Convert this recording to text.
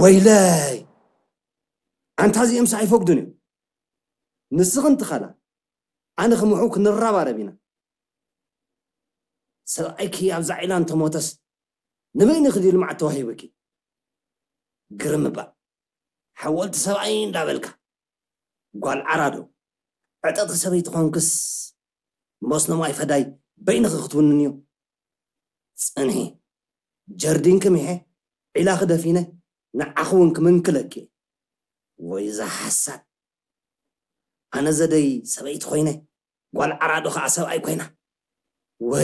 ወይለይ! ኣንታ እዚኦምስ ኣይፈቅዱን እዮም። ንስኽን ትኸላ ኣነ ክምሑ ክንረባረብ ኢና። ሰብኣይኪ ኣብዛ ዒላ እንተሞተስ ንበይንኺ ድዩ ልምዓት ተዋሂቡኪ? ግርም እባ ሓወልቲ ሰብኣይ እንዳበልካ ጓል ዓራዶ ዕጠጥኪ ሰበይቲ ኾንክስ መስኖ ማይ ፈዳይ በይንኺ ክትውንንዮ። ጽንሒ ጀርዲንኪ ሚሐ ዒላኺ ደፊነ ንዓኺ እውን ክምንክለኪ። ወይ እዛ ሓሳድ ኣነ ዘደይ ሰበይቲ ኮይነ ጓል ዓራዶ ከዓ ሰብኣይ ኮይና።